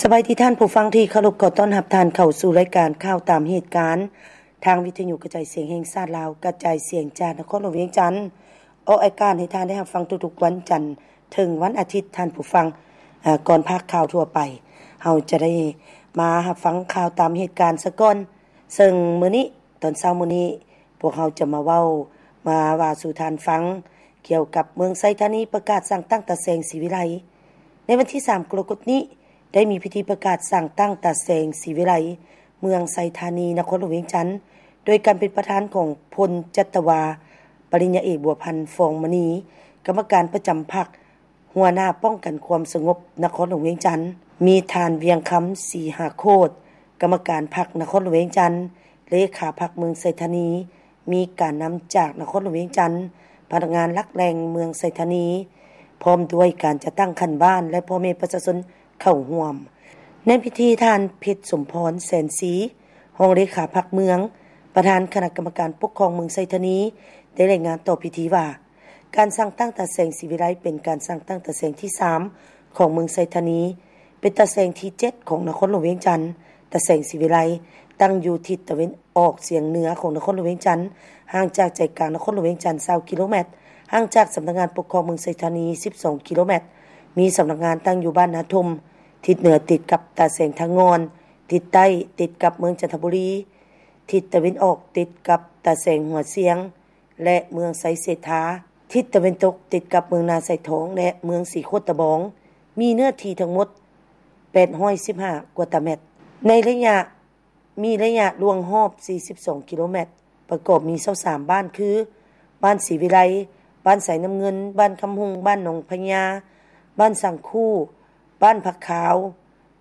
ສະບາຍດີທ່ານຜູ້ຟັງທີ່ເຄົາລົບ, ຂໍຕ້ອນຮັບທ່ານເຂົ້າສູ່ລາຍການຂ່າວຕາມເຫດການ ທາງວິທະຍຸກະຈາຍສຽງແຫ່ງຊາດລາວ ກະຈາຍສຽງຈາກນະຄອນຫຼວງວຽງຈັນ ອອກອາກາດໃຫ້ທ່ານໄດ້ຮັບຟັງທຸກໆວັນຈັນເຖິງວັນອາທິດ. ທ່ານຜູ້ຟັງ, ເອີ ກ່ອນພາກຂ່າວທົ່ວໄປ, ເຮົາຈະໄດ້ມາຮັບຟັງຂ່າວຕາມເຫດການສາກ່ອນ. ເຊິ່ງມື້ນີ້ ຕອນເຊົ້າມື້ນີ້ ພວກເຮົາຈະມາເວົ້າ ມາວ່າສູ່ທ່ານຟັງ ກ່ຽວກັບເມືອງໄຊທານີປະກາດສັ່ງຕັ້ງຕາແສງ ສີວິໄລ. ໃນວັນທີສາມ ກໍລະກົດນີ້ ໄດ້ມີພິທີປະກາດສັ່ງຕັ້ງຕາແສງ ສີວິໄລ ເມືອງໄຊທານີ ນະຄອນຫຼວງວຽງຈັນ ໂດຍການເປັນປະທານຂອງພົນຈັດຕະວາ ປະລິນຍາເອກ ບົວພັນ ຟອງມະນີ ກຳມະການປະຈຳພັກ ຫົວໜ້າປ້ອງກັນຄວາມສະຫງົບນະຄອນຫຼວງວຽງຈັນ, ມີທ່ານ ວຽງຄຳ ສີຫາໂຄດ ກຳມະການພັກນະຄອນຫຼວງວຽງຈັນ, ເລຂາພັກເມືອງໄຊທານີ, ມີການນຳຈາກນະຄອນຫຼວງວຽງຈັນ, ພະນັກງານຫຼັກແຫຼ່ງເມືອງໄຊທານີ, ພ້ອມດ້ວຍການຈັດຕັ້ງຂັ້ນບ້ານ ແລະ ພໍ່ແມ່ປະຊາຊົນເຂົ້າຮ່ວມ. ໃນພິທີ ທ່ານ ເພັດສົມພອນ ແສນສີ ຮອງເລຂາພັກເມືອງ, ປະທານຄະນະກຳມະການປົກຄອງເມືອງໄຊທານີ ໄດ້ລາຍງານຕໍ່ພິທີວ່າ, ການສ້າງຕັ້ງຕາແສງສີວິໄລ ເປັນການສ້າງຕັ້ງຕາແສງທີສາມຂອງເມືອງໄຊທານີ, ເປັນຕາແສງທີເຈັດຂອງນະຄອນຫຼວງວຽງຈັນ. ຕາແສງສີວິໄລຕັ້ງຢູ່ທິດຕາເວັນອອກສຽງເໜືອຂອງນະຄອນຫຼວງວຽງຈັນ, ຫ່າງຈາກໃຈກາງນະຄອນຫຼວງວຽງຈັນຊາວກິໂລແມັດ, ຫ່າງຈາກສຳນັກງານປົກຄອງເມືອງໄຊທານີສິບສອງກິໂລແມັດ, ມີສຳນັກງານຕັ້ງຢູ່ບ້ານນາທົ່ມ, ທິດເໜືອຕິດກັບຕາແສງທາງ່ອນ, ທິດໃຕ້ຕິດກັບເມືອງຈັນທະບູລີ, ທິດຕາເວັນອອກຕິດກັບຕາແສງຫົວຊຽງ ແລະ ເມືອງໄຊເສດຖາ, ທິດຕາເວັນຕົກຕິດກັບເມືອງນາຊາຍທອງ ແລະ ເມືອງສີໂຄດຕະບອງ, ມີເນື້ອທີ່ທັງໝົດແປດຮ້ອຍສິບຫ້າກວ່າຕາແມັດ. ໃນໄລຍະ ມີໄລຍະລວງຮອບສີ່ສິບສອງກິໂລແມັດ, ປະກອບມີຊາວສາມບ້ານ ຄື ບ້ານສີວິໄລ, ບ້ານໄຊນ້ຳເງິນ, ບ້ານຄຳຮຸ່ງ, ບ້ານໜອງພະຍາ, ບ້ານສັງຄູ, ບ້ານຜັກຂາວ,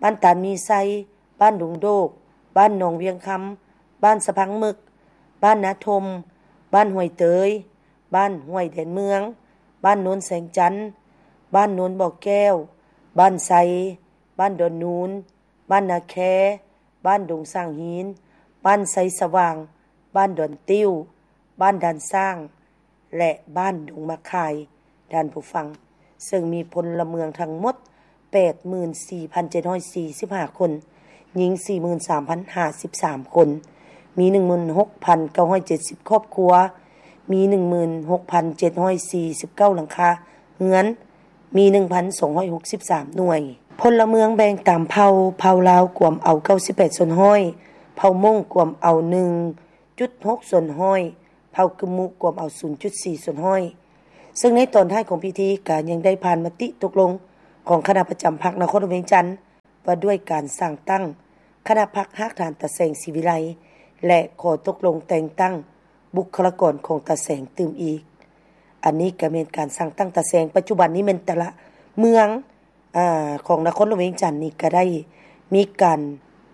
ບ້ານຕານມີໄຊ, ບ້ານດົງໂດກ, ບ້ານໜອງວຽງຄຳ, ບ້ານສະພັງເໝິກ, ບ້ານນາທົ່ມ, ບ້ານຫ້ວຍເຕີຍ, ບ້ານຫ້ວຍແດນເມືອງ, ບ້ານໂນນແສງຈັນ, ບ້ານໂນນບໍ່ແກ້ວ, ບ້ານໄຊ, ບ້ານດອນນູນ, ບ້ານນາແຄ, ບ້ານດົງສ້າງຫີນ, ບ້ານໄຊສະຫວ່າງ, ບ້ານດອນຕິ້ວ, ບ້ານດ່ານຊ້າງ ແລະ ບ້ານດົງໝາກຄາຍ, ທ່ານຜູ້ຟັງ, ເຊິ່ງມີພົນລະເມືອງທັງໝົດແປດໝື່ນສີ່ພັນເຈັດຮ້ອຍສີ່ສິບຫ້າຄົນ, ຍິງສີ່ໝື່ນສາມພັນຫ້າສິບສາມຄົນ, ມີໜຶ່ງໝື່ນຫົກພັນເກົ້າຮ້ອຍເຈັດສິບຄອບຄົວ, ມີໜຶ່ງໝື່ນຫົກພັນເຈັດຮ້ອຍສີ່ສິບເກົ້າຫຼັງຄາເຮືອນ, ມີໜຶ່ງພັນສອງຮ້ອຍຫົກສິບສາມໜ່ວຍ. ພົນລະເມືອງແບ່ງຕາມເຜົ່າ, ເຜົ່າລາວກວມເອົາເກົ້າສິບແປດສ່ວນຮ້ອຍ, ເຜົ່າມົ້ງກວມເອົາໜຶ່ງຈຸດຫົກສ່ວນຮ້ອຍ, ເຜົ່າກຶມມຸກວມເອົາສູນຈຸດສີ່ສ່ວນຮ້ອຍ. ເຊິ່ງໃນຕອນທ້າຍຂອງພິທີກໍຍັງໄດ້ຜ່ານມະຕິຕົກລົງຂອງຄະນະປະຈຳພັກນະຄອນຫຼວງວຽງຈັນ ວ່າດ້ວຍການສ້າງຕັ້ງຄະນະພັກຮາກຖານຕາແສງ ສີວິໄລ ແລະ ຂໍຕົກລົງແຕ່ງຕັ້ງບຸກຄະລາກອນຂອງຕາແສງຕື່ມອີກ. ອັນນີ້ກໍແມ່ນການສ້າງຕັ້ງຕາແສງ. ປັດຈຸບັນນີ້ແມ່ນແຕ່ລະເມືອງ ອາ ຂອງນະຄອນຫຼວງວຽງຈັນນີ້ກໍໄດ້ມີການ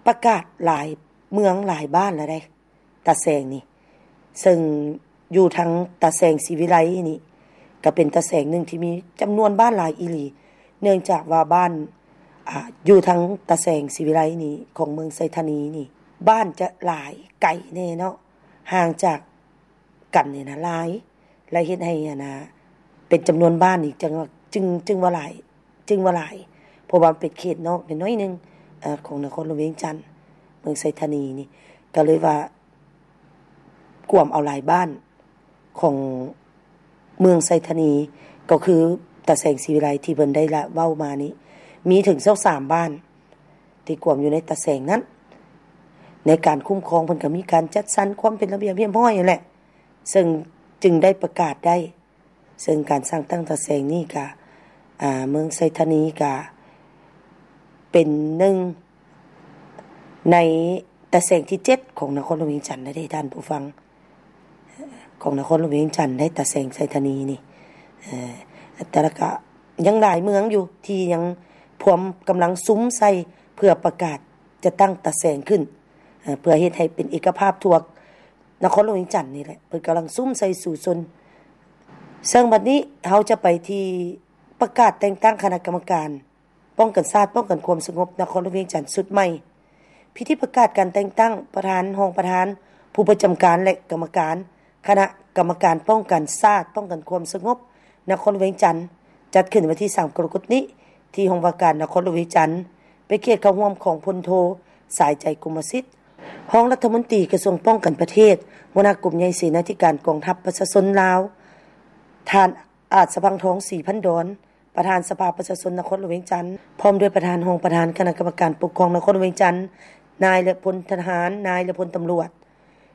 ປະກາດຫຼາຍເມືອງຫຼາຍບ້ານແລ້ວເດ້ ຕາແສງນີ້. ເຊິ່ງຢູ່ທາງຕາແສງ ສີວິໄລນີ້ ກໍເປັນຕາແສງໜຶ່ງທີ່ມີຈຳນວນບ້ານຫຼາຍອີ່ຫຼີ, ເນື່ອງຈາກວ່າບ້ານ ອາ ຢູ່ທາງຕາແສງ ສີວິໄລນີ້ ຂອງເມືອງໄຊທານີນີ້ ບ້ານຈະຫຼາຍໄກແດ່ເນາະ, ຫ່າງຈາກກັນນີ້ນະຫຼາຍ ແລະ ເຮັດໃຫ້ ອັນນະ ເປັນຈຳນວນບ້ານນີ້ ຈຶ່ງວ່າ ຈຶ່ງ ຈຶ່ງວ່າຫຼາຍ ຈຶ່ງວ່າຫຼາຍ ເພາະວ່າມັນເປັນເຂດນອກໜ້ອຍໜຶ່ງ ເອີ ຂອງນະຄອນຫຼວງວຽງຈັນ ເມືອງໄຊທານີນີ້ ກໍເລີຍວ່າກວມເອົາຫຼາຍບ້ານຂອງເມືອງໄຊທານີ ກໍຄືຕາແສງ ສີວິໄລ ທີ່ເພິ່ນໄດ້ລະເວົ້າມານີ້ ມີເຖິງຊາວສາມບ້ານທີ່ກວມຢູ່ໃນຕາແສງນັ້ນ. ໃນການຄຸ້ມຄອງເພິ່ນກໍມີການຈັດສັນຄວາມເປັນລະບຽບຮຽບຮ້ອຍຫັ້ນແຫຼະ ເຊິ່ງຈຶ່ງໄດ້ປະກາດໄດ້ ເຊິ່ງການສ້າງຕັ້ງຕາແສງນີ້ກະ ອາ ເມືອງໄຊທານີກະເປັນໜຶ່ງໃນຕາແສງທີເຈັດຂອງນະຄອນຫຼວງວຽງຈັນນະເດ້ ທ່ານຜູ້ຟັງ, ຂອງນະຄອນຫຼວງວຽງຈັນໄດ້ຕາແສງໄຊທານີນີ້. ເອີ ແຕ່ລະກະຍັງຫຼາຍເມືອງຢູ່ທີ່ຍັງພວມກຳລັງສຸມໃສ່ເພື່ອປະກາດຈະຕັ້ງຕາແສງຂຶ້ນ ເອີ ເພື່ອເຮັດໃຫ້ເປັນເອກະພາບທົ່ວ ນະຄອນຫຼວງວຽງຈັນນີ້ແຫຼະ ເພິ່ນກຳລັງສຸມໃສ່ສູ້ຊົນ. ເຊິ່ງບັດນີ້ເຮົາຈະໄປທີ່ປະກາດແຕ່ງຕັ້ງຄະນະກຳມະການປ້ອງກັນຊາດ ປ້ອງກັນຄວາມສະຫງົບນະຄອນຫຼວງວຽງຈັນຊຸດໃໝ່. ພິທີປະກາດການແຕ່ງຕັ້ງປະທານ, ຮອງປະທານ, ຜູ້ປະຈຳການ ແລະ ກຳມະການຄະນະກຳມະການປ້ອງກັນຊາດ ປ້ອງກັນຄວາມສະຫງົບນະຄອນຫຼວງວຽງຈັນ ຈັດຂຶ້ນໃນວັນທີສາມ ກໍລະກົດນີ້ ທີ່ຫ້ອງວ່າການນະຄອນຫຼວງວຽງຈັນ. ເປັນກຽດເຂົ້າຮ່ວມຂອງພົນໂທ ສາຍໃຈ ກົມມະສິດ ຮອງລັດຖະມົນຕີກະຊວງປ້ອງກັນປະເທດ, ຫົວໜ້າກົມໃຫຍ່ເສນາທິການກອງທັບປະຊາຊົນລາວ, ທ່ານ ອາດສະພັງທອງ ສີພັນດອນ ປະທານສະພາປະຊາຊົນນະຄອນຫຼວງວຽງຈັນ, ພ້ອມດ້ວຍປະທານ, ຮອງປະທານຄະນະກຳມະການປົກຄອງນະຄອນຫຼວງວຽງຈັນ, ນາຍ ແລະ ພົນທະຫານ, ນາຍ ແລະ ພົນຕຳຫຼວດ.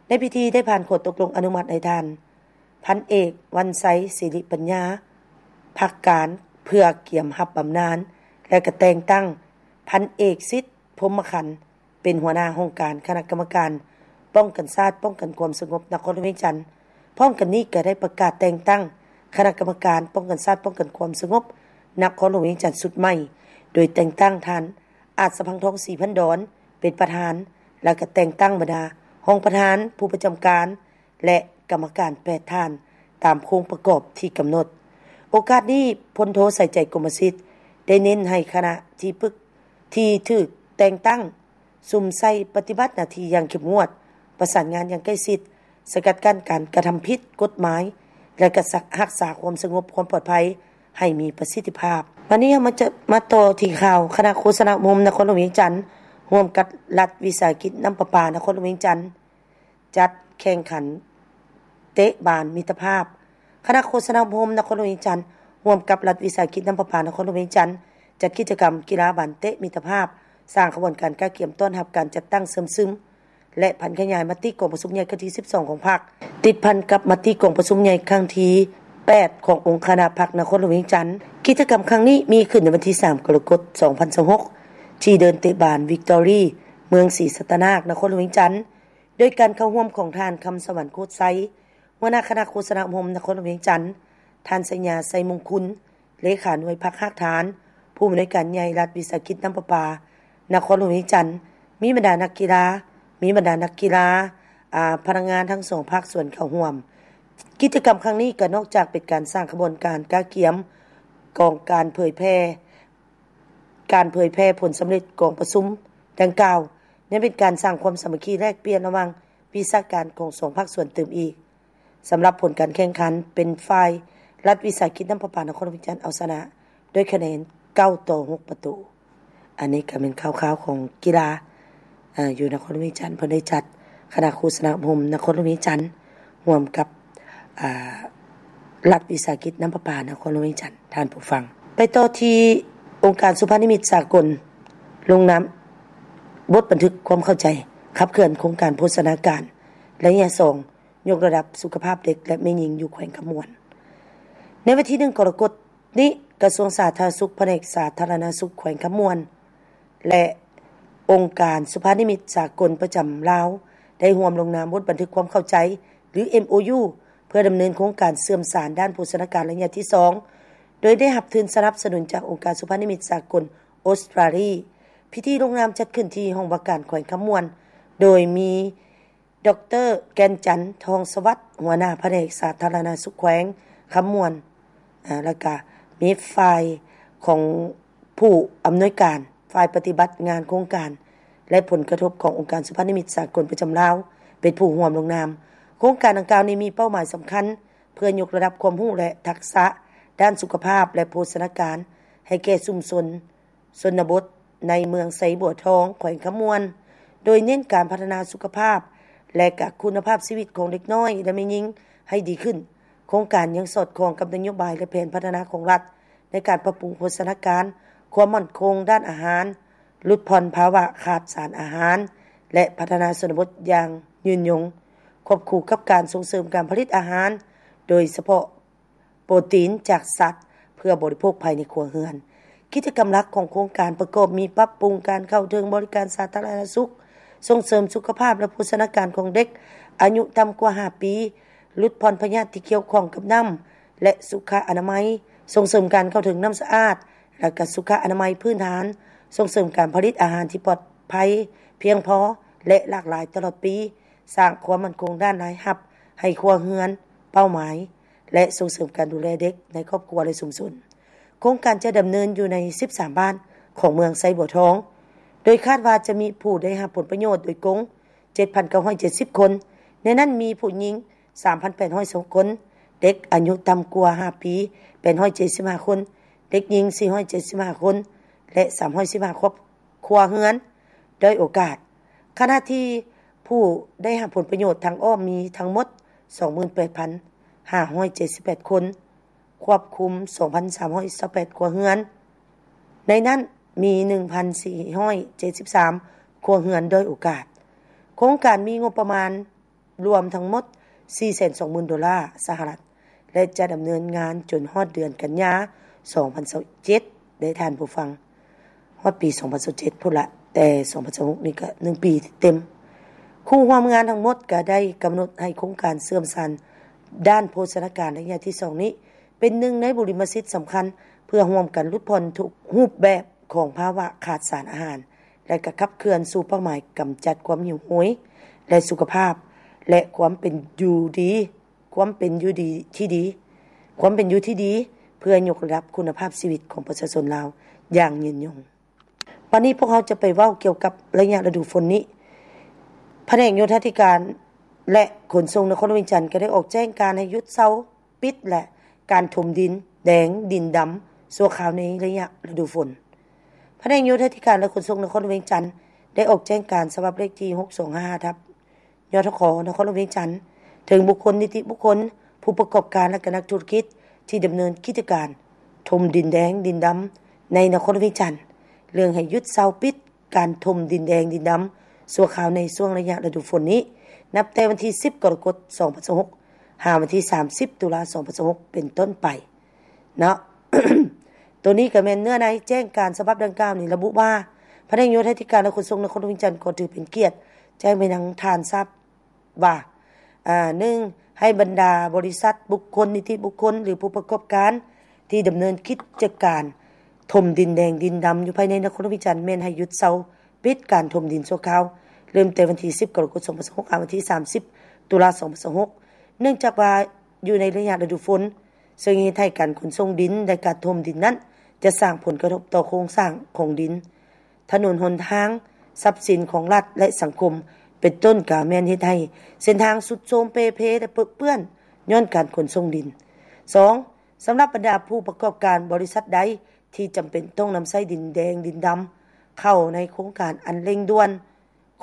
ໃນພິທີໄດ້ຜ່ານຂໍ້ຕົກລົງອະນຸມັດໃຫ້ທ່ານ ພັນເອກ ວັນໄຊ ສິລິປັນຍາ ພັກການ ເພື່ອກຽມຮັບບຳນານ ແລະ ກະແຕ່ງຕັ້ງພັນເອກ ສິດ ພົມມະຄັນ ເປັນຫົວໜ້າຫ້ອງການຄະນະກຳມະການປ້ອງກັນຊາດ, ປ້ອງກັນຄວາມສະຫງົບນະຄອນຫຼວງວຽງຈັນ. ພ້ອມກັນນີ້ກໍໄດ້ປະກາດແຕ່ງຕັ້ງຄະນະກຳມະການປ້ອງກັນຊາດ, ປ້ອງກັນຄວາມສະຫງົບນະຄອນຫຼວງວຽງຈັນຊຸດໃໝ່, ໂດຍແຕ່ງຕັ້ງທ່ານ ອາດສະພັງທອງ ສີພັນດອນ ເປັນປະທານ ແລະ ກໍແຕ່ງຕັ້ງບັນດາຮອງປະທານ, ຜູ້ປະຈຳການ ແລະ ກຳມະການ ແປດ ທ່ານ ຕາມໂຄງປະກອບທີ່ກຳນົດ. ໂອກາດນີ້ ພົນໂທ ສາຍໃຈ ກົມມະສິດ ໄດ້ເນັ້ນໃຫ້ຄະນະທີ່ປຶກ ທີ່ຖືກແຕ່ງຕັ້ງ ສຸມໃສ່ປະຕິບັດໜ້າທີ່ຢ່າງເຂັ້ມງວດ, ປະສານງານຢ່າງໃກ້ຊິດ, ສະກັດກັ້ນການກະທຳຜິດກົດໝາຍ ແລະ ກະຮັກສາຄວາມສະຫງົບຄວາມປອດໄພໃຫ້ມີປະສິດທິພາບ. ບັດນີ້ເຮົາມາຈະ ມາຕໍ່ທີ່ຂ່າວ ຄະນະໂຄສະນາອົບຮົມນະຄອນຫຼວງວຽງຈັນ ຮ່ວມກັບລັດວິສາຫະກິດນ້ຳປະປານະຄອນຫຼວງວຽງຈັນ ຈັດແຂ່ງຂັນເຕະບານມິດຕະພາບ. ຄະນະໂຄສະນາອົບຮົມນະຄອນຫຼວງວຽງຈັນ ຮ່ວມກັບລັດວິສາຫະກິດນ້ຳປະປານະຄອນຫຼວງວຽງຈັນ ຈັດກິດຈະກຳກິລາບານເຕະມິດຕະພາບ, ສ້າງຂະບວນການກະກຽມຕ້ອນຮັບການຈັດຕັ້ງເຊື່ອມຊຶມ ແລະ ຜັນຂະຫຍາຍມະຕິກອງປະຊຸມໃຫຍ່ຄັ້ງທີສິບສອງຂອງພັກ, ຕິດພັນກັບມະຕິກອງປະຊຸມໃຫຍ່ຄັ້ງທີແປດຂອງອົງຄະນະພັກນະຄອນຫຼວງວຽງຈັນ. ກິດຈະກຳຄັ້ງນີ້ມີຂຶ້ນໃນວັນທີສາມ ກໍລະກົດ ສອງພັນຊາວຫົກ ທີ່ເດີ່ນເຕະບານວິກຕໍຣີ ເມືອງສີສັດຕະນາກ ນະຄອນຫຼວງວຽງຈັນ. ໂດຍການເຂົ້າຮ່ວມຂອງທ່ານ ຄຳສະຫວັນ ໂຄດໄຊ ຫົວໜ້າຄະນະໂຄສະນາອົບຮົມນະຄອນຫຼວງວຽງຈັນ, ທ່ານ ໄຊຍາ ໄຊມຸງຄຸນ ເລຂາໜ່ວຍພັກຮາກຖານ, ຜູ້ອຳນວຍການໃຫຍ່ລັດວິສາຫະກິດນ້ຳປະປານະຄອນຫຼວງວຽງຈັນ, ມີບັນດານັກກິລາ, ມີບັນດານັກກິລາ, ອາ, ພະນັກງານທັງສອງພາກສ່ວນເຂົ້າຮ່ວມ. ກິດຈະກຳຄັ້ງນີ້ກໍນອກຈາກເປັນການສ້າງຂະບວນການກະກຽມກອງການເຜີຍແຜ່ ການເຜີຍແຜ່ຜົນສຳເລັດກອງປະຊຸມດັ່ງກ່າວ ຍັງເປັນການສ້າງຄວາມສາມັກຄີແລກປ່ຽນລະຫວ່າງວິຊາການຂອງສອງພາກສ່ວນຕື່ມອີກ. ສຳລັບຜົນການແຂ່ງຂັນ ເປັນຝ່າຍລັດວິສາຫະກິດນ້ຳປະປານະຄອນຫຼວງວຽງຈັນເອົາຊະນະດ້ວຍຄະແນນເກົ້າຕໍ່ຫົກປະຕູ. ອັນນີ້ກໍແມ່ນຂ່າວໆຂອງກິລາ ເອີ ຢູ່ນະຄອນຫຼວງວຽງຈັນ ເພິ່ນໄດ້ຈັດຄະນະໂຄສະນາອົບຮົມນະຄອນຫຼວງວຽງຈັນ ຮ່ວມກັບ ອາ ລັດວິສາຫະກິດນ້ຳປະປານະຄອນຫຼວງວຽງຈັນ. ທ່ານຜູ້ຟັງ, ໄປຕໍ່ທີ່ອົງການສຸພານິມິດສາກົນ ລົງນາມບົດບັນທຶກຄວາມເຂົ້າໃຈ ຂັບເຄື່ອນໂຄງການໂພຊະນາການໄລຍະສອງ ຍົກລະດັບສຸຂະພາບເດັກ ແລະ ແມ່ຍິງຢູ່ແຂວງຄຳມ່ວນ. ໃນວັນທີໜຶ່ງ ກໍລະກົດນີ້, ກະຊວງສາທາລະນະສຸກ ພະແນກສາທາລະນະສຸກແຂວງຄຳມ່ວນ ແລະ ອົງການສຸພານິມິດສາກົນປະຈຳລາວ ໄດ້ຮ່ວມລົງນາມບົດບັນທຶກຄວາມເຂົ້າໃຈ ຫຼື ເອັມໂອຢູ ເພື່ອດຳເນີນໂຄງການເຊື່ອມສານດ້ານໂພຊະນາການໄລຍະທີສອງ ໂດຍໄດ້ຮັບທຶນສະໜັບສະໜູນຈາກອົງການສຸພານິມິດສາກົນອົດສະຕຣາລີ. ພິທີລົງນາມຈັດຂຶ້ນທີ່ຫ້ອງວ່າການແຂວງຄຳມ່ວນ ໂດຍມີ ດອກເຕີ ແກ່ນຈັນ ທອງສະຫວັດ ຫົວໜ້າພະແນກສາທາລະນະສຸກແຂວງຄຳມ່ວນ, ອາ ແລ້ວກະມີຝ່າຍຂອງຜູ້ອຳນວຍການ ຝ່າຍປະຕິບັດງານໂຄງການ ແລະ ຜົນກະທົບຂອງອົງການສຸພານິມິດສາກົນປະຈຳລາວ ເປັນຜູ້ຮ່ວມລົງນາມ. ໂຄງການດັ່ງກ່າວນີ້ມີເປົ້າໝາຍສຳຄັນ ເພື່ອຍົກລະດັບຄວາມຮູ້ ແລະ ທັກສະດ້ານສຸຂະພາບ ແລະ ໂພຊະນາການ ໃຫ້ແກ່ຊຸມຊົນ ຊົນນະບົດໃນເມືອງໄຊບົວທອງ ແຂວງຄຳມ່ວນ, ໂດຍເນັ້ນການພັດທະນາສຸຂະພາບ ແລະ ກະຄຸນນະພາບຊີວິດຂອງເດັກນ້ອຍ ແລະ ແມ່ຍິງໃຫ້ດີຂຶ້ນ. ໂຄງການຍັງສອດຄ່ອງກັບນະໂຍບາຍ ແລະ ແຜນພັດທະນາຂອງລັດ ໃນການປັບປຸງໂພຊະນາການ, ຄວາມໝັ້ນຄົງດ້ານອາຫານ, ຫຼຸດຜ່ອນພາວະຂາດສານອາຫານ ແລະ ພັດທະນາຊົນນະບົດຢ່າງຍືນຍົງ, ຄວບຄູ່ກັບການສົ່ງເສີມການຜະລິດອາຫານ, ໂດຍສະເພາະ ໂປຣຕີນຈາກສັດ ເພື່ອບໍລິໂພກພາຍໃນຄົວເຮືອນ. ກິດຈະກຳຫຼັກຂອງໂຄງການປະກອບມີ ປັບປຸງການເຂົ້າເຖິງບໍລິການສາທາລະນະສຸກ, ສົ່ງເສີມສຸຂະພາບ ແລະ ໂພຊະນາການຂອງເດັກອາຍຸຕ່ຳກວ່າຫ້າປີ, ຫຼຸດຜ່ອນພະຍາດທີ່ກ່ຽວຂ້ອງກັບນ້ຳ ແລະ ສຸຂະອະນາໄມ, ສົ່ງເສີມການເຂົ້າເຖິງນ້ຳສະອາດ ແລະ ກະສຸຂະອະນາໄມພື້ນຖານ, ສົ່ງເສີມການຜະລິດອາຫານທີ່ປອດໄພ, ພຽງພໍ ແລະ ຫຼາກຫຼາຍຕະຫຼອດປີ, ສ້າງຄວາມໝັ້ນຄົງດ້ານລາຍຮັບໃຫ້ຄົວເຮືອນເປົ້າໝາຍ ແລະ ສົ່ງເສີມການດູແລເດັກໃນຄອບຄົວ ແລະ ຊຸມຊົນ. ໂຄງການຈະດຳເນີນຢູ່ໃນສິບສາມບ້ານຂອງເມືອງໄຊບົວທອງ, ໂດຍຄາດວ່າຈະມີຜູ້ໄດ້ຮັບຜົນປະໂຫຍດໂດຍກົງ ເຈັດພັນເກົ້າຮ້ອຍເຈັດສິບຄົນ, ໃນນັ້ນມີຜູ້ຍິງສາມພັນແປດຮ້ອຍຊາວຫົກຄົນ, ເດັກອາຍຸຕ່ຳກວ່າຫ້າປີ ແປດຮ້ອຍເຈັດສິບຫ້າຄົນ, ເດັກຍິງສີ່ຮ້ອຍເຈັດສິບຫ້າຄົນ ແລະ ສາມຮ້ອຍສິບຫ້າຄອບ ຄົວເຮືອນດ້ອຍໂອກາດ, ຂະນະທີ່ຜູ້ໄດ້ຮັບຜົນປະໂຫຍດທາງອ້ອມມີທັງໝົດ ສອງໝື່ນແປດພັນຫ້າຮ້ອຍເຈັດສິບແປດຄົນ, ຄວບຄຸມ ສອງພັນສາມຮ້ອຍຊາວແປດຄົວເຮືອນ, ໃນນັ້ນມີ ໜຶ່ງພັນສີ່ຮ້ອຍເຈັດສິບສາມຄົວເຮືອນດ້ອຍໂອກາດ. ໂຄງການມີງົບປະມານລວມທັງໝົດ ສີ່ແສນສອງໝື່ນໂດລາສະຫະລັດ ແລະ ຈະດຳເນີນງານຈົນຮອດເດືອນກັນຍາ ສອງພັນຊາວເຈັດ ເດ້ທ່ານຜູ້ຟັງ. ຮອດປີ ສອງພັນຊາວເຈັດ ພຸ້ນລະ, ແຕ່ ສອງພັນຊາວຫົກ ນີ້ກະ ໜຶ່ງປີເຕັມ. ຄູ່ຮ່ວມງານທັງໝົດກະໄດ້ກຳນົດໃຫ້ໂຄງການເຊື່ອມສານດ້ານໂພຊະນາການໄລຍະທີສອງນີ້ ເປັນໜຶ່ງໃນບຸລິມະສິດສຳຄັນ ເພື່ອຮ່ວມກັນຫຼຸດຜ່ອນທຸກຮູບແບບຂອງພາວະຂາດສານອາຫານ ແລະ ກະຂັບເຄື່ອນສູ່ເປົ້າໝາຍກຳຈັດຄວາມຫິວໂຫຍ ແລະ ສຸຂະພາບ ແລະ ຄວາມເປັນຢູ່ດີ, ຄວາມເປັນຢູ່ດີທີ່ດີ, ຄວາມເປັນຢູ່ທີ່ດີ ເພື່ອຍົກລະດັບຄຸນນະພາບຊີວິດຂອງປະຊາຊົນລາວຢ່າງຍືນຍົງ. ບັດນີ້ພວກເຮົາຈະໄປເວົ້າກ່ຽວກັບໄລຍະລະດູຝົນນີ້. ພະແນກໂຍທາທິການ ແລະ ຂົນສົ່ງນະຄອນຫຼວງວຽງຈັນ ກໍໄດ້ອອກແຈ້ງການໃຫ້ຢຸດເຊົາປິດ ແລະ ການຖົມດິນແດງດິນດຳຊົ່ວຄາວໃນໄລຍະລະດູຝົນ. ພະແນກໂຍທາທິການ ແລະ ຂົນສົ່ງນະຄອນຫຼວງວຽງຈັນ ໄດ້ອອກແຈ້ງການສະບັບເລກທີ ຫົກສອງຫ້າ ທັບ ຍທຂ ນະຄອນຫຼວງວຽງຈັນ ເຖິງບຸກຄົນ, ນິຕິບຸກຄົນ, ຜູ້ປະກອບການ ແລະ ກະນັກທຸລະກິດ ທີ່ດຳເນີນກິດຈະການຖົມດິນແດງດິນດຳໃນນະຄອນຫຼວງວຽງຈັນ ເລື່ອງໃຫ້ຢຸດເຊົາປິດການຖົມດິນແດງດິນດຳຊົ່ວຄາວໃນຊ່ວງໄລຍະລະດູຝົນນີ້ ນັບແຕ່ວັນທີ ສິບ ກໍລະກົດ ສອງພັນຊາວຫົກ ຫາວັນທີ ສາມສິບ ຕຸລາ ສອງພັນຊາວຫົກ ເປັນຕົ້ນໄປເນາະ. ໂຕນີ້ກໍແມ່ນເນື້ອໃນແຈ້ງການສະບັບດັ່ງກ່າວນີ້ລະບຸວ່າ ພະແນກໂຍທາທິການ ແລະ ຂົນສົ່ງນະຄອນຫຼວງວຽງຈັນ ກໍຖືເປັນກຽດແຈ້ງໄປຍັງທ່ານຊາບ ວ່າ ໜຶ່ງ ໃຫ້ບັນດາບໍລິສັດ, ບຸກຄົນ, ນິຕິບຸກຄົນ ຫຼື ຜູ້ປະກອບການທີ່ດຳເນີນກິດຈະການຖົມດິນແດງດິນດຳຢູ່ພາຍໃນນະຄອນຫຼວງວຽງຈັນ ແມ່ນໃຫ້ຢຸດເຊົາປິດການຖົມດິນຊົ່ວຄາວ ເລີ່ມແຕ່ວັນທີ ສິບ ກໍລະກົດ ສອງພັນຊາວຫົກ ຫາວັນທີ ສາມສິບ ຕຸລາ ສອງພັນຊາວຫົກ ເນື່ອງຈາກວ່າຢູ່ໃນໄລຍະລະດູຝົນ ເຊິ່ງເຮັດໃຫ້ການຂົນສົ່ງດິນ ແລະ ການຖົມດິນນັ້ນ ຈະສ້າງຜົນກະທົບຕໍ່ໂຄງສ້າງຂອງດິນ, ຖະໜົນຫົນທາງ, ຊັບສິນຂອງລັດ ແລະ ສັງຄົມ ເປັນຕົ້ນ ກະແມ່ນເຮັດໃຫ້ເສັ້ນທາງຊຸດໂຊມເປ່ເພ ແລະ ເປິເປື້ອນຍ້ອນການຂົນສົ່ງດິນ. ສອງ ສຳລັບບັນດາຜູ້ປະກອບການບໍລິສັດໃດທີ່ຈຳເປັນຕ້ອງນຳໃຊ້ດິນແດງດິນດຳເຂົ້າໃນໂຄງການອັນເລັ່ງດ່ວນ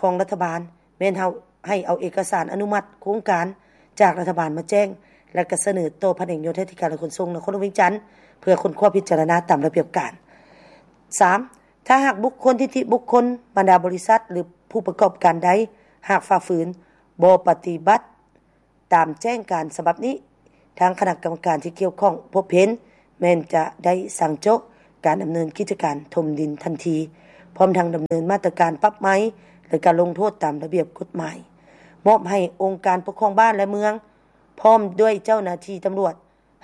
ຂອງລັດຖະບານ ແມ່ນເຮົາໃຫ້ເອົາເອກະສານອະນຸມັດໂຄງການຈາກລັດຖະບານມາແຈ້ງ ແລະ ກະສະເໜີຕໍ່ພະແນກໂຍທາທິການ ແລະ ຂົນສົ່ງນະຄອນຫຼວງວຽງຈັນ ເພື່ອຄົ້ນຄວ້າພິຈາລະນາຕາມລະບຽບການ. ສາມ ຖ້າຫາກບຸກຄົນ, ນິຕິບຸກຄົນ, ບັນດາບໍລິສັດ ຫຼື ຜູ້ປະກອບການໃດ ຫາກຝ່າຝືນ, ບໍ່ປະຕິບັດ ຕາມແຈ້ງການສະບັບນີ້, ທາງຄະນະກຳມະການທີ່ກ່ຽວຂ້ອງພົບເຫັນ ແມ່ນຈະໄດ້ສັ່ງໂຈະການດຳເນີນກິດຈະການຖົມດິນທັນທີ, ພ້ອມທັງດຳເນີນມາດຕະການປັບໃໝ ແລະ ການລົງໂທດຕາມລະບຽບກົດໝາຍ, ມອບໃຫ້ອົງການປົກຄອງບ້ານ ແລະ ເມືອງ ພ້ອມດ້ວຍເຈົ້າໜ້າທີ່ຕຳຫຼວດ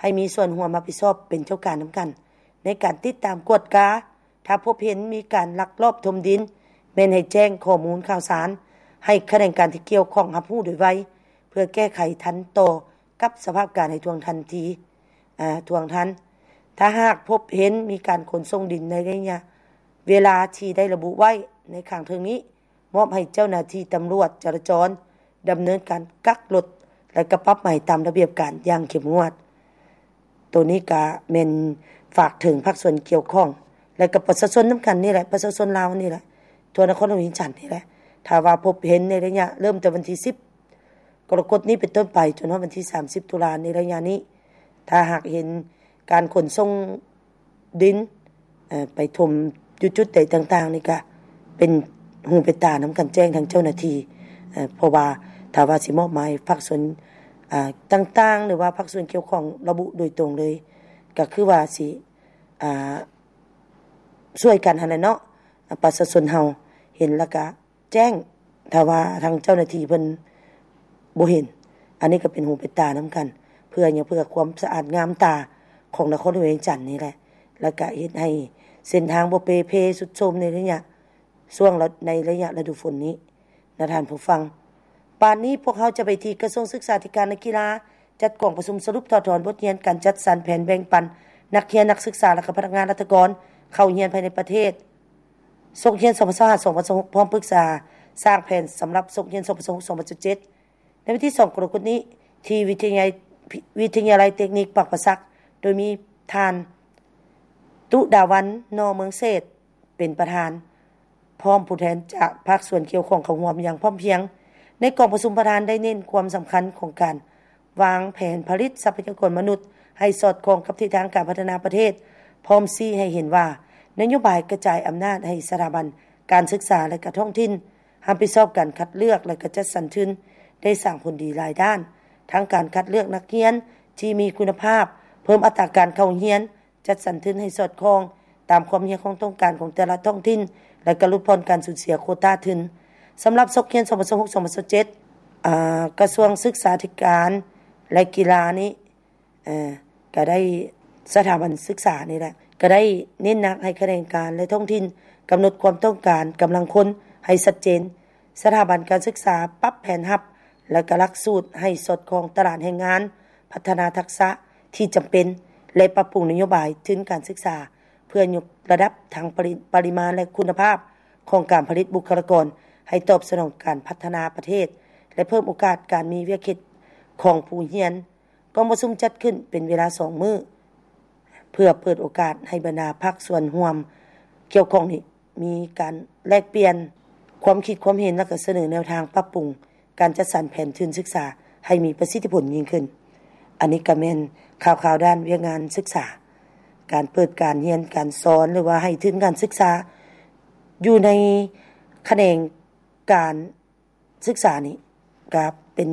ໃຫ້ມີສ່ວນຮ່ວມຮັບຜິດຊອບເປັນເຈົ້າການນຳກັນ ໃນການຕິດຕາມກວດກາ. ຖ້າພົບເຫັນມີການລັກລອບຖົມດິນ ແມ່ນໃຫ້ແຈ້ງຂໍ້ມູນຂ່າວສານໃຫ້ຂະແໜງການທີ່ກ່ຽວຂ້ອງຮັບຮູ້ໂດຍໄວ ເພື່ອແກ້ໄຂທັນຕໍ່ກັບສະພາບການໃຫ້ທ່ວງທັນທີ, ອາ, ທ່ວງທັນ. ຖ້າຫາກພົບເຫັນມີການຂົນສົ່ງດິນໃນໄລຍະເວລາທີ່ໄດ້ລະບຸໄວ້ໃນຂ້າງເທິງນີ້, ມອບໃຫ້ເຈົ້າໜ້າທີ່ຕຳຫຼວດຈະລາຈອນດຳເນີນການກັກລົດ ແລະ ກະປັບໃໝຕາມລະບຽບການຢ່າງເຂັ້ມງວດ. ໂຕນີ້ກະແມ່ນຝາກເຖິງພາກສ່ວນກ່ຽວຂ້ອງ ແລະ ກັບປະຊາຊົນນຳກັນນີ້ແຫຼະ, ປະຊາຊົນລາວນີ້ແຫຼະ, ທົ່ວນະຄອນຫຼວງວຽງຈັນນີ້ແຫຼະ. ຖ້າວ່າພົບເຫັນໃນໄລຍະເລີ່ມແຕ່ວັນທີ ສິບ ກໍລະກົດນີ້ເປັນຕົ້ນໄປ ຈົນຮອດວັນທີ ສາມສິບ ຕຸລາ ໃນໄລຍະນີ້, ຖ້າຫາກເຫັນການຂົນສົ່ງ ດິນ ເອີ ໄປຖົມຢູ່ຈຸດໃດຕ່າງໆ ນີ້ກະເປັນຫູເປັນຕານຳກັນແຈ້ງທາງເຈົ້າໜ້າທີ່, ເອີ ເພາະວ່າຖ້າວ່າຊິມອບໝາຍພາກສ່ວນ ອາ ຕ່າງໆ ຫຼືວ່າພາກສ່ວນກ່ຽວຂ້ອງລະບຸໂດຍຕົງເລີຍ ກະຄືວ່າຊິ ອາ ຊ່ວຍກັນຫັ້ນແຫຼະເນາະ, ປະຊາຊົນເຮົາເຫັນແລ້ວກະ ແຈ້ງ ຖ້າວ່າທາງເຈົ້າໜ້າທີ່ເພິ່ນບໍ່ເຫັນ, ອັນນີ້ກໍເປັນຫູເປັນຕານຳກັນ ເພື່ອຫຍັງ? ເພື່ອຄວາມສະອາດງາມຕາຂອງນະຄອນຫຼວງວຽງຈັນນີ້ແຫຼະ, ແລ້ວກະເຮັດໃຫ້ເສັ້ນທາງບໍ່ເປ່ເພ ຊຸດໂຊມໃນໄລຍະຊ່ວງລະ ໃນໄລຍະລະດູຝົນນີ້ນະທ່ານຜູ້ຟັງ. ບາດນີ້ພວກເຮົາຈະໄປທີ່ກະຊວງສຶກສາທິການ ແລະ ກິລາ ຈັດກອງປະຊຸມສະຫຼຸບຖອດຖອນບົດຮຽນການຈັດສັນແຜນແບ່ງປັນນັກຮຽນ, ນັກສຶກສາ ແລະ ກະພະນັກງານລັດຖະກອນເຂົ້າຮຽນພາຍໃນປະເທດ ສົກຮຽນ ສອງພັນຊາວຫ້າ ສອງພັນຊາວຫົກ ພ້ອມປຶກສາສ້າງແຜນສຳລັບສົກຮຽນ ສອງພັນຊາວຫົກ ສອງພັນຊາວເຈັດ ໃນວັນທີ ສອງ ກໍລະກົດນີ້ ທີ່ວິທະຍາໄລ ວິທະຍາໄລເຕັກນິກປາກປາສັກ ໂດຍມີທ່ານ ຕຸດາວັນ ໜໍ່ເມືອງເສດ ເປັນປະທານ ພ້ອມຜູ້ແທນຈາກພາກສ່ວນກ່ຽວຂ້ອງເຂົ້າຮ່ວມຢ່າງພ້ອມພຽງ. ໃນກອງປະຊຸມ, ປະທານໄດ້ເນັ້ນຄວາມສຳຄັນຂອງການວາງແຜນຜະລິດຊັບພະຍາກອນມະນຸດໃຫ້ສອດຄ່ອງກັບທິດທາງການພັດທະນາປະເທດ, ພ້ອມຊີ້ໃຫ້ເຫັນວ່ານະໂຍບາຍກະຈາຍອຳນາດໃຫ້ສະຖາບັນການສຶກສາ ແລະ ກະທ້ອງຖິ່ນຮັບຜິດຊອບການຄັດເລືອກ ແລະ ກະຈັດສັນທຶນ ໄດ້ສ້າງຜົນດີຫຼາຍດ້ານ, ທັງການຄັດເລືອກນັກຮຽນທີ່ມີຄຸນນະພາບ, ເພີ່ມອັດຕາການເຂົ້າຮຽນ, ຈັດສັນທຶນໃຫ້ສອດຄ່ອງຕາມຄວາມຮຽກຮ້ອງຕ້ອງການຂອງແຕ່ລະທ້ອງຖິ່ນ ແລະ ກະຫຼຸດຜ່ອນການສູນເສຍໂຄຕາທຶນ. ສຳລັບສົກຮຽນ ສອງພັນຊາວຫົກ ສອງພັນຊາວເຈັດ ອາ ກະຊວງສຶກສາທິການ ແລະ ກິລານີ້ ເອີ ກະໄດ້ ສະຖາບັນສຶກສານີ້ແຫຼະ ກະໄດ້ເນັ້ນໜັກໃຫ້ຂະແໜງການ ແລະ ທ້ອງຖິ່ນກຳນົດຄວາມຕ້ອງການກຳລັງຄົນໃຫ້ຊັດເຈນ. ສະຖາບັນການສຶກສາປັບແຜນຮັບ ແລະ ກະຫຼັກສູດໃຫ້ສອດຄ່ອງຕະຫຼາດແຮງງານ, ພັດທະນາທັກສະທີ່ຈຳເປັນ ແລະ ປັບປຸງນະໂຍບາຍທຶນການສຶກສາ ເພື່ອຍົກລະດັບທັງປະລິ ປະລິມານ ແລະ ຄຸນນະພາບຂອງການຜະລິດບຸກຄະລາກອນ ໃຫ້ຕອບສະໜອງການພັດທະນາປະເທດ ແລະ ເພີ່ມໂອກາດການມີວຽກເຮັດຂອງຜູ້ຮຽນ. ກອງປະຊຸມຈັດຂຶ້ນເປັນເວລາສອງມື້ ເພື່ອເປີດໂອກາດໃຫ້ບັນດາພາກສ່ວນຮ່ວມກ່ຽວຂ້ອງນີ້ ມີການແລກປ່ຽນຄວາມຄິດຄວາມເຫັນ ແລະ ກະສະເໜີແນວທາງປັບປຸງການຈັດສັນແຜນທຶນສຶກສາໃຫ້ມີປະສິດທິຜົນຍິ່ງຂຶ້ນ. ອັນນີ້ກະແມ່ນຂ່າວໆດ້ານວຽກງານສຶກສາ, ການເປີດການຮຽນການສອນ ຫຼືວ່າໃຫ້ທຶນການສຶກສາຢູ່ໃນຂະແໜງການ ສຶກສານີ້ກະເປັນ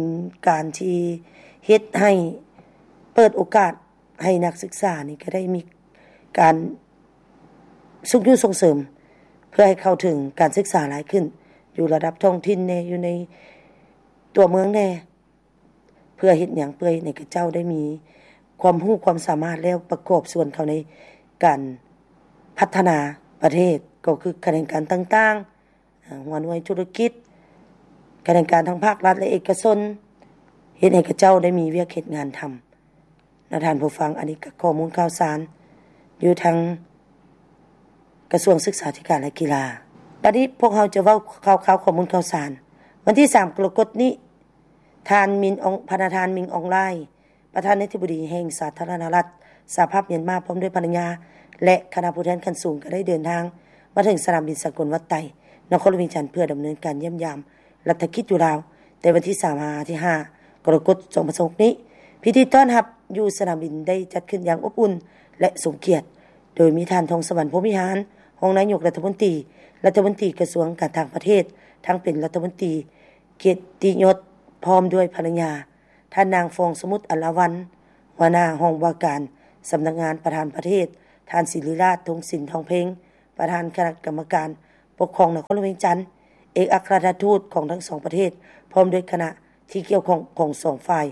ການທີ່ເຮັດໃຫ້ເປີດໂອກາດໃຫ້ນັກສຶກສານີ້ກະໄດ້ມີການຊຸກຍູ້ສົ່ງເສີມ ເພື່ອໃຫ້ເຂົ້າເຖິງການສຶກສາຫຼາຍຂຶ້ນ ຢູ່ລະດັບທ້ອງຖິ່ນແດ່ ຢູ່ໃນຕົວເມືອງແດ່ ເພື່ອເຮັດຫຍັງ? ເພື່ອເຮັດໃຫ້ເຂົາເຈົ້າໄດ້ມີຄວາມຮູ້ຄວາມສາມາດ ແລ້ວປະກອບສ່ວນເຂົ້າໃນການພັດທະນາປະເທດ ກໍຄືຂະແໜງການຕ່າງໆ ອາ ຫົວໜ່ວຍທຸລະກິດ, ຂະແໜງການທັງພາກລັດ ແລະ ເອກະຊົນ ເຮັດໃຫ້ເຂົາເຈົ້າໄດ້ມີວຽກເຮັດງານທຳ. ນະທ່ານຜູ້ຟັງ, ອັນນີ້ກໍຂໍ້ມູນຂ່າວສານຢູ່ທາງກະຊວງສຶກສາທິການ ແລະ ກິລາ. ບັດນີ້ພວກເຮົາຈະເວົ້າຂ່າວໆ ຂໍ້ມູນຂ່າວສານ. ວັນທີສາມ ກໍລະກົດນີ້, ທ່ານ ມິນ ອອງ ພະນະທ່ານ ມິນ ອອງ ລາຍ ປະທານາທິບໍດີແຫ່ງສາທາລະນະລັດສະຫະພາບມຽນມາ ພ້ອມດ້ວຍພັນລະຍາ ແລະ ຄະນະຜູ້ແທນຂັ້ນສູງ ກໍໄດ້ເດີນທາງມາເຖິງສະໜາມບິນສາກົນວັດໄຕ ນະຄອນຫຼວງວຽງຈັນ ເພື່ອດຳເນີນການຢ້ຽມຢາມລັດຖະກິດຢູ່ລາວ ແຕ່ວັນທີສາມຫາວັນທີຫ້າ ກໍລະກົດ ສອງພັນຊາວຫົກນີ້. ພິທີຕ້ອນຮັບຢູ່ສະໜາມບິນໄດ້ຈັດຂຶ້ນຢ່າງອົບອຸ່ນ ແລະ ສົມກຽດ, ໂດຍມີທ່ານ ທອງສະຫວັນ ພົມວິຫານ ຮອງນາຍົກລັດຖະມົນຕີ, ລັດຖະມົນຕີກະຊວງການຕ່າງປະເທດ, ທັງເປັນລັດຖະມົນຕີກຽດຕິຍົດ ພ້ອມດ້ວຍພັນລະຍາ, ທ່ານນາງ ຟອງສະໝຸດ ອັນລາວັນ ຫົວໜ້າຫ້ອງວ່າການສຳນັກງານປະທານປະເທດ, ທ່ານ ສິລິລາດ ທົງສິນທອງເພັງ ປະທານຄະນະກຳມະການປົກຄອງນະຄອນຫຼວງວຽງຈັນ, ເອກອັກຄະລັດຖະທູດຂອງທັງສອງປະເທດ ພ້ອມດ້ວຍຄະນະທີ່ກ່ຽວຂ້ອງຂອງສອງຝ່າຍ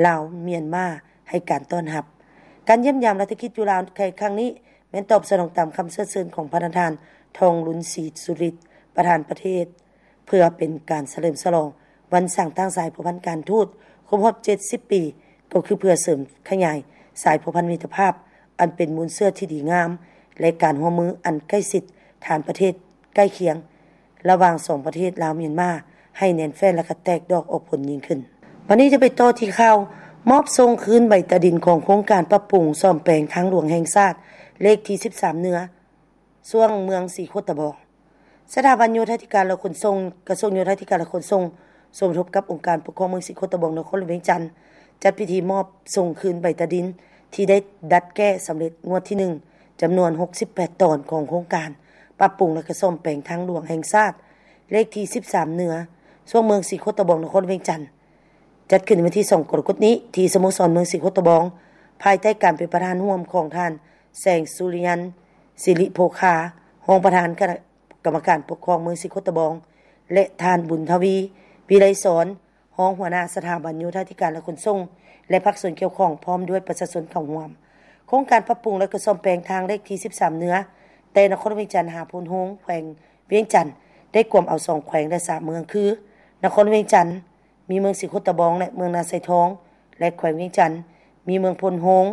ລາວ-ມຽນມາ ໃຫ້ການຕ້ອນຮັບ. ການຢ້ຽມຢາມລັດຖະກິດຢູ່ລາວໃນຄັ້ງນີ້ ແມ່ນຕອບສະໜອງຕາມຄຳເຊີດເຊີນຂອງພະນະທ່ານ ທອງລຸນ ສີສຸລິດ ປະທານປະເທດ ເພື່ອເປັນການສະເຫຼີມສະຫຼອງວັນສ້າງຕັ້ງສາຍພົວພັນການທູດຄົບຮອບເຈັດສິບປີ, ກໍຄືເພື່ອເສີມຂະຫຍາຍສາຍພົວພັນມິດຕະພາບອັນເປັນມູນເຊື້ອທີ່ດີງາມ ແລະ ການຮ່ວມມືອັນໃກ້ຊິດທາງປະເທດໃກ້ຄຽງ ລະຫວ່າງສອງປະເທດລາວ-ມຽນມາ ໃຫ້ແໜ້ນແຟ້ນ ແລະ ກະແຕກດອກອອກຜົນຍິ່ງຂຶ້ນ. ບັດນີ້ຈະໄປຕໍ່ທີ່ຂ່າວ ມອບສົ່ງຄືນໃບຕາດິນຂອງໂຄງການປັບປຸງສ້ອມແປງທາງຫຼວງແຫ່ງຊາດ ເລກທີສິບສາມເໜືອ ຊ່ວງເມືອງສີໂຄດຕະບອງ. ສະຖາບັນໂຍທາທິການ ແລະ ຂົນສົ່ງ ກະຊວງໂຍທາທິການ ແລະ ຂົນສົ່ງ ສົມທົບກັບອົງການປົກຄອງເມືອງສີໂຄດຕະບອງ ນະຄອນຫຼວງວຽງຈັນ ຈັດພິທີມອບສົ່ງຄືນໃບຕາດິນທີ່ໄດ້ດັດແກ້ສຳເລັດງວດທີໜຶ່ງ ຈຳນວນຫົກສິບແປດຕອນຂອງໂຄງການປັບປຸງ ແລະ ກະສ້ອມແປງທາງຫຼວງແຫ່ງຊາດ ເລກທີສິບສາມເໜືອ ຊ່ວງເມືອງສີໂຄດຕະບອງ ນະຄອນຫຼວງວຽງຈັນ ຈັດຂຶ້ນໃນວັນທີສອງ ກໍລະກົດນີ້ ທີ່ສະໂມສອນເມືອງສີໂຄດຕະບອງ ພາຍໃຕ້ການເປັນປະທານຮ່ວມຂອງທ່ານ ແສງສຸລິຍັນ ສິລິໂພຄາ ຮອງປະທານຄະນະກຳມະການປົກຄອງເມືອງສີໂຄດຕະບອງ ແລະ ທ່ານ ບຸນທະວີ ວິໄລສອນ ຮອງຫົວໜ້າສະຖາບັນໂຍທາທິການ ແລະ ຂົນສົ່ງ ແລະ ພາກສ່ວນກ່ຽວຂ້ອງ ພ້ອມດ້ວຍປະຊາຊົນເຂົ້າຮ່ວມ. ໂຄງການປັບປຸງ ແລະ ກະສ້ອມແປງທາງເລກທີສິບສາມເໜືອ ແຕ່ນະຄອນຫຼວງວຽງຈັນຫາໂພນໂຮງ ແຂວງວຽງຈັນ ໄດ້ກວມເອົາສອງແຂວງ ແລະ ສາມເມືອງ ຄື ນະຄອນຫຼວງວຽງຈັນ ມີເມືອງສີໂຄດຕະບອງ ແລະ ເມືອງນາຊາຍທອງ ແລະ ແຂວງວຽງຈັນ ມີເມືອງໂພນໂຮງ,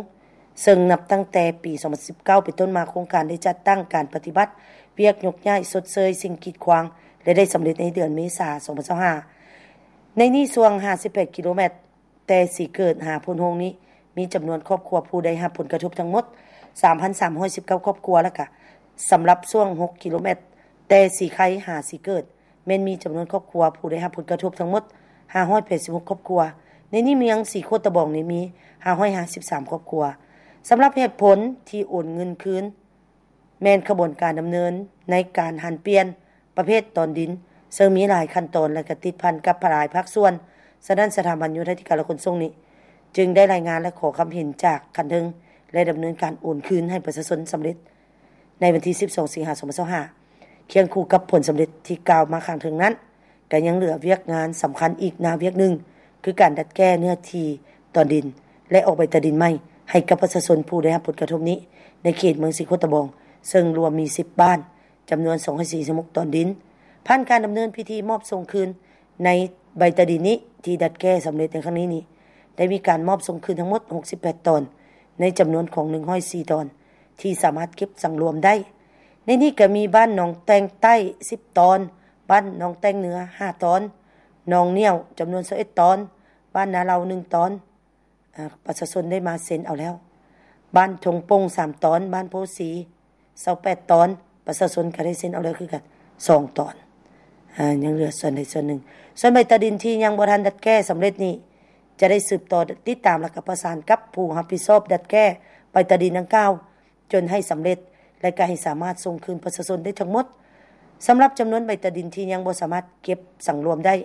ເຊິ່ງນັບຕັ້ງແຕ່ປີສອງພັນສິບເກົ້າເປັນຕົ້ນມາ ໂຄງການໄດ້ຈັດຕັ້ງການປະຕິບັດວຽກຍົກຍ້າຍຊົດເຊີຍສິ່ງກີດຂວາງ ແລະ ໄດ້ສຳເລັດໃນເດືອນເມສາ ສອງພັນຊາວຫ້າ. ໃນນີ້ ຊ່ວງຫ້າສິບແປດກິໂລແມັດ ແຕ່ສີເກີດຫາໂພນໂຮງນີ້ ມີຈຳນວນຄອບຄົວຜູ້ໄດ້ຮັບຜົນກະທົບທັງໝົດ ສາມພັນສາມຮ້ອຍສິບເກົ້າຄອບຄົວ ແລະ ກະສຳລັບຊ່ວງຫົກກິໂລແມັດ ແຕ່ສີໄຄຫາສີເກີດ ແມ່ນມີຈຳນວນຄອບຄົວຜູ້ໄດ້ຮັບຜົນກະທົບທັງໝົດຫ້າຮ້ອຍແປດສິບຫົກຄອບຄົວ. ໃນນີ້ເມືອງສີໂຄດຕະບອງນີ້ມີຫ້າຮ້ອຍຫ້າສິບສາມຄອບຄົວ. ສຳລັບເຫດຜົນທີ່ໂອນເງິນຄືນ ແມ່ນຂະບວນການດຳເນີນໃນການຫັນປ່ຽນປະເພດຕອນດິນ ເຊິ່ງມີຫຼາຍຂັ້ນຕອນ ແລະ ກະຕິດພັນກັບຫຼາຍພາກສ່ວນ, ສະນັ້ນ ສະຖາບັນໂຍທາທິການ ແລະ ຂົນສົ່ງນີ້ ຈຶ່ງໄດ້ລາຍງານ ແລະ ຂໍຄຳເຫັນຈາກຂັ້ນເທິງ ແລະ ດຳເນີນການໂອນຄືນໃຫ້ປະຊາຊົນສຳເລັດໃນວັນທີສິບສອງ ສິງຫາ ສອງພັນຊາວຫ້າ. ຄຽງຄູ່ກັບຜົນສຳເລັດທີ່ກ່າວມາຂ້າງເທິງນັ້ນ, ກໍຍັງເຫຼືອວຽກງານສຳຄັນອີກໜ້າວຽກໜຶ່ງ ຄືການດັດແກ້ເນື້ອທີ່ຕອນດິນ ແລະ ອອກໃບຕາດິນໃໝ່ໃຫ້ກັບປະຊາຊົນຜູ້ໄດ້ຮັບຜົນກະທົບນີ້ ໃນເຂດເມືອງສີໂຄດຕະບອງ, ເຊິ່ງລວມມີສິບບ້ານ, ຈຳນວນສອງຮ້ອຍສີ່ສິບຫົກຕອນດິນ. ຜ່ານການດຳເນີນພິທີມອບສົ່ງຄືນໃນໃບຕາດິນນີ້ ທີ່ດັດແກ້ສຳເລັດໃນຄັ້ງນີ້ນີ້ ໄດ້ມີການມອບສົ່ງຄືນທັງໝົດຫົກສິບແປດຕອນ ໃນຈຳນວນຂອງໜຶ່ງຮ້ອຍສີ່ຕອນ ທີ່ສາມາດເກັບສັງລວມໄດ້. ໃນນີ້ກໍມີບ້ານໜອງແຕ່ງໃຕ້ສິບຕອນ, ບ້ານໜອງແຕ່ງເໜືອຫ້າຕອນ, ໜອງໜ້ຽວຈຳນວນຊາວເອັດຕອນ, ບ້ານນາເລົາໜຶ່ງຕອນ, ອາ ປະຊາຊົນໄດ້ມາເຊັນເອົາແລ້ວ. ບ້ານທົ່ງໂປ່ງສາມຕອນ, ບ້ານໂພສີຊາວແປດຕອນ, ປະຊາຊົນກໍໄດ້ເຊັນເອົາແລ້ວຄືກັນສອງຕອນ. ອາ ຍັງເຫຼືອສ່ວນໃດສ່ວນໜຶ່ງ. ສ່ວນໃບຕາດິນທີ່ຍັງບໍ່ທັນດັດແກ້ສຳເລັດນີ້ ຈະໄດ້ສືບຕໍ່ຕິດຕາມ ແລະ ກໍປະສານກັບຜູ້ຮັບຜິດຊອບດັດແກ້ໃບຕາດິນດັ່ງກ່າວ ຈົນໃຫ້ສຳເລັດ ແລະ ກໍໃຫ້ສາມາດສົ່ງຄືນປະຊາຊົນໄດ້ທັງໝົດ. ສຳລັບຈຳນວນໃບຕາດິນທີ່ຍັງບໍ່ສາມາດເກັບສັງລວມໄດ້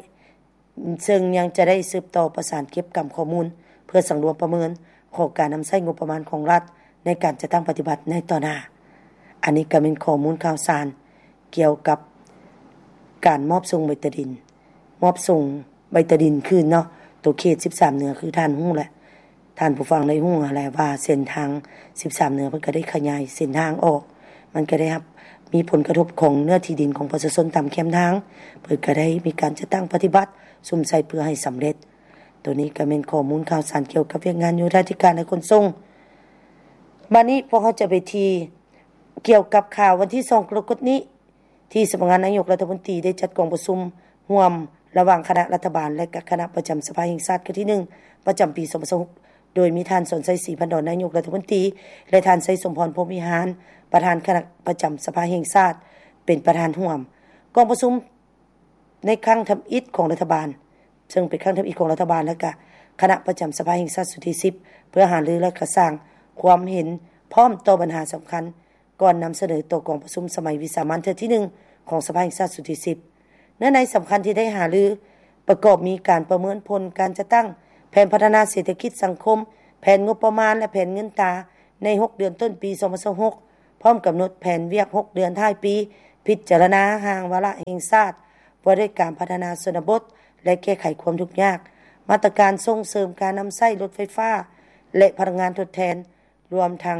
ເຊິ່ງຍັງຈະໄດ້ສືບຕໍ່ປະສານເກັບກຳຂໍ້ມູນ ເພື່ອສັງລວມປະເມີນຂອງການນຳໃຊ້ງົບປະມານຂອງລັດໃນການຈັດຕັ້ງປະຕິບັດໃນຕໍ່ໜ້າ. ອັນນີ້ກໍແມ່ນຂໍ້ມູນຂ່າວສານກ່ຽວກັບການມອບສົ່ງໃບຕາດິນ, ມອບສົ່ງໃບຕາດິນຄືນເນາະ. ໂຕເຂດສິບສາມເໜືອ ຄືທ່ານຮູ້ແຫຼະ, ທ່ານຜູ້ຟັງໄດ້ຮູ້ຫັ້ນແຫຼະວ່າເສັ້ນທາງສິບສາມເໜືອເພິ່ນກໍໄດ້ຂະຫຍາຍເສັ້ນທາງອອກ, ມັນກໍໄດ້ຮັບ ມີຜົນກະທົບຂອງເນື້ອທີ່ດິນຂອງປະຊາຊົນຕາມແຄມທາງ, ເພິ່ນກໍໄດ້ມີການຈັດຕັ້ງປະຕິບັດສຸມໃສ່ເພື່ອໃຫ້ສຳເລັດ. ໂຕນີ້ກໍແມ່ນຂໍ້ມູນຂ່າວສານກ່ຽວກັບວຽກງານໂຍທາທິການ ແລະ ຂົນສົ່ງ. ບາດນີ້ພວກເຮົາຈະໄປທີ່ ກ່ຽວກັບຂ່າວວັນທີສອງກໍລະກົດນີ້ ທີ່ສຳນັກງານນາຍົກລັດຖະມົນຕີໄດ້ຈັດກອງປະຊຸມຮ່ວມລະຫວ່າງຄະນະລັດຖະບານ ແລະ ກະຄະນະປະຈຳສະພາແຫ່ງຊາດຄັ້ງທີໜຶ່ງ ປະຈຳປີສອງພັນຊາວຫົກ ໂດຍມີທ່ານ ສອນໄຊ ສີພັນດອນ ນາຍົກລັດຖະມົນຕີ ແລະ ທ່ານ ໄຊສົມພອນ ພົມວິຫານ ປະທານຄະນະປະຈຳສະພາແຫ່ງຊາດ ເປັນປະທານຮ່ວມ. ກອງປະຊຸມໃນຄັ້ງທຳອິດຂອງລັດຖະບານ ເຊິ່ງເປັນຄັ້ງທຳອິດຂອງລັດຖະບານ ແລະ ກະຄະນະປະຈຳສະພາແຫ່ງຊາດຊຸດທີສິບ ເພື່ອຫາລື ແລະ ກະສ້າງຄວາມເຫັນພ້ອມຕໍ່ບັນຫາສຳຄັນ ກ່ອນນຳສະເໜີຕໍ່ກອງປະຊຸມສະໄໝວິສາມັນເທື່ອທີໜຶ່ງຂອງສະພາແຫ່ງຊາດຊຸດທີສິບ. ເນື້ອໃນສຳຄັນທີ່ໄດ້ຫາລືປະກອບມີການປະເມີນຜົນການຈັດຕັ້ງແຜນພັດທະນາເສດຖະກິດສັງຄົມ, ແຜນງົບປະມານ ແລະ ແຜນເງິນຕາໃນຫົກເດືອນຕົ້ນປີສອງພັນຊາວຫົກ ພ້ອມກຳນົດແຜນວຽກຫົກເດືອນທ້າຍປີ, ພິຈາລະນາຮ່າງວາລະແຫ່ງຊາດວ່າດ້ວຍການພັດທະນາຊົນນະບົດ ແລະ ແກ້ໄຂຄວາມທຸກຍາກ, ມາດຕະການສົ່ງເສີມການນຳໃຊ້ລົດໄຟຟ້າ ແລະ ພະລັງງານທົດແທນ, ລວມທັງ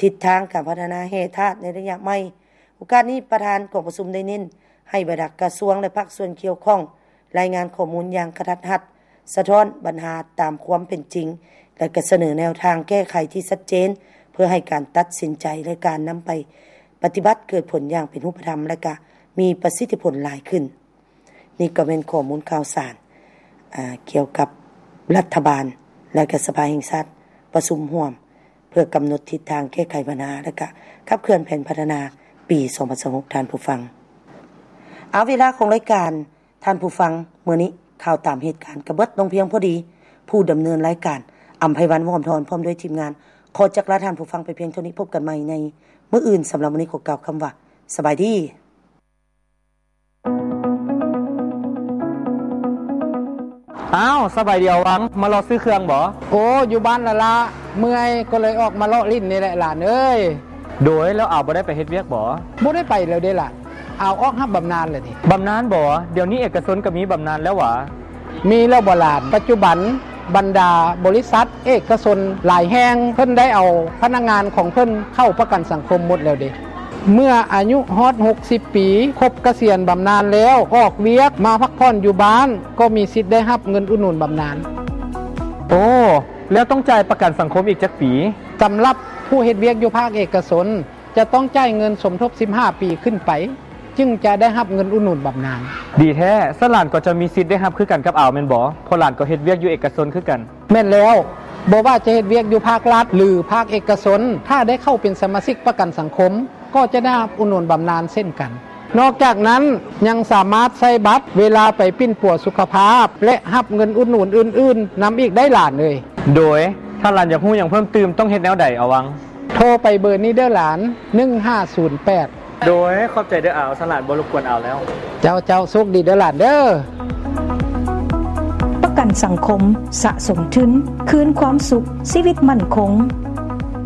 ທິດທາງການພັດທະນາແຮ່ທາດໃນໄລຍະໃໝ່. ໂອກາດນີ້ ປະທານກອງປະຊຸມໄດ້ເນັ້ນໃຫ້ບັນດາກະຊວງ ແລະ ພາກສ່ວນກ່ຽວຂ້ອງ ລາຍງານຂໍ້ມູນຢ່າງກະທັດຮັດ, ສະທ້ອນບັນຫາຕາມຄວາມເປັນຈິງ ແລະ ກະສະເໜີແນວທາງແກ້ໄຂທີ່ຊັດເຈນ ເພື່ອໃຫ້ການຕັດສິນໃຈ ແລະ ການນຳໄປປະຕິບັດເກີດຜົນຢ່າງເປັນຮູບປະທຳ ແລະ ກະມີປະສິດທິຜົນຫຼາຍຂຶ້ນ. ນີ້ກໍແມ່ນຂໍ້ມູນຂ່າວສານ ອາ ກ່ຽວກັບລັດຖະບານ ແລະ ກະສະພາແຫ່ງຊາດປະຊຸມຮ່ວມ ເພື່ອກຳນົດທິດທາງແກ້ໄຂບັນຫາ ແລະ ກະຂັບເຄື່ອນແຜນພັດທະນາປີສອງພັນຊາວຫົກ ທ່ານຜູ້ຟັງ. ເອົາ ເວລາຂອງລາຍການ ທ່ານຜູ້ຟັງ, ມື້ນີ້ຂ່າວຕາມເຫດການກໍເບິດລົງພຽງພໍດີ. ຜູ້ດຳເນີນລາຍການ ອຳໄພວັນ ວອມທອນ ພ້ອມດ້ວຍທີມງານ ຂໍຈັກລາທ່ານຜູ້ຟັງໄປພຽງເທົ່ານີ້. ພົບກັນໃໝ່ໃນມື້ອື່ນ. ສຳລັບມື້ນີ້ ຂໍກ່າວຄຳວ່າ ສະບາຍດີ. ອ້າວ ສະບາຍດີອາວັງ, ມາເລາະຊື້ເຄື່ອງບໍ? ໂອ້ ຢູ່ບ້ານລະລະ ເມື່ອຍກໍເລີຍອອກມາເລາະຫຼິ້ນນີ້ແຫຼະຫຼານເອີຍ. ໂດຍ ແລ້ວອາວບໍ່ໄດ້ໄປເຮັດວຽກບໍ? ບໍ່ໄດ້ໄປແລ້ວເດ້ຫຼານ, ອາວອອກຮັບບຳນານແລ້ວເດ. ບຳນານບໍ? ດຽວນີ້ເອກະຊົນກໍມີບຳນານແລ້ວຫວາ? ມີແລ້ວບໍຫຼານ, ປັດຈຸບັນ ບັນດາບໍລິສັດເອກະຊົນຫຼາຍແຫ່ງ ເພິ່ນໄດ້ເອົາພະນັກງານຂອງເພິ່ນເຂົ້າປະກັນສັງຄົມໝົດແລ້ວເດ. ເມື່ອອາຍຸຮອດຫົກສິບປີ ຄົບກະສຽນບຳນານແລ້ວ ອອກວຽກມາພັກຜ່ອນຢູ່ບ້ານ ກໍມີສິດໄດ້ຮັບເງິນອຸດໜູນບຳນານ. ໂອ້ ແລ້ວຕ້ອງຈ່າຍປະກັນສັງຄົມອີກຈັກປີ? ສຳລັບຜູ້ເຮັດວຽກຢູ່ພາກເອກະຊົນ ຈະຕ້ອງຈ່າຍເງິນສົມທົບສິບຫ້າປີຂຶ້ນໄປ ຈຶ່ງຈະໄດ້ຮັບເງິນອຸດໜູນບຳນານ. ດີແທ້, ຊັ້ນຫຼານກໍຈະມີສິດໄດ້ຮັບຄືກັນກັບອາວແມ່ນບໍ່? ເພາະຫຼານກໍເຮັດວຽກຢູ່ເອກະຊົນຄືກັນ. ແມ່ນແລ້ວ, ບໍ່ວ່າຈະເຮັດວຽກຢູ່ພາກລັດ ຫຼື ພາກເອກະຊົນ, ຖ້າໄດ້ເຂົ້າເປັນສະມາຊິກປະກັນສັງຄົມ, ກໍຈະໄດ້ຮັບອຸດໜູນບຳນານເຊັ່ນກັນ. ນອກຈາກນັ້ນ ຍັງສາມາດໃຊ້ບັດເວລາໄປປິ່ນປົວສຸຂະພາບ ແລະ ຮັບເງິນອຸດໜູນອື່ນໆນຳອີກໄດ້ຫຼານເອີຍ. ໂດຍ ຖ້າຫຼານຢາກຮູ້ຫຍັງເພີ່ມຕື່ມ ຕ້ອງເຮັດແນວໃດອາວັງ? ໂທໄປເບີນີ້ເດີ້ຫຼານ ໜຶ່ງຫ້າສູນແປດ. ໂດຍ ຂອບໃຈເດີ້ອາວ ສະຫຼານບໍ່ລົບກວນອາວແລ້ວ. ເຈົ້າ ເຈົ້າ ໂຊກດີເດີ້ຫຼານເດີ້. ປະກັນສັງຄົມ ສະສົມທຶນ ຄືນຄວາມສຸກ ຊີວິດໝັ້ນຄົງ.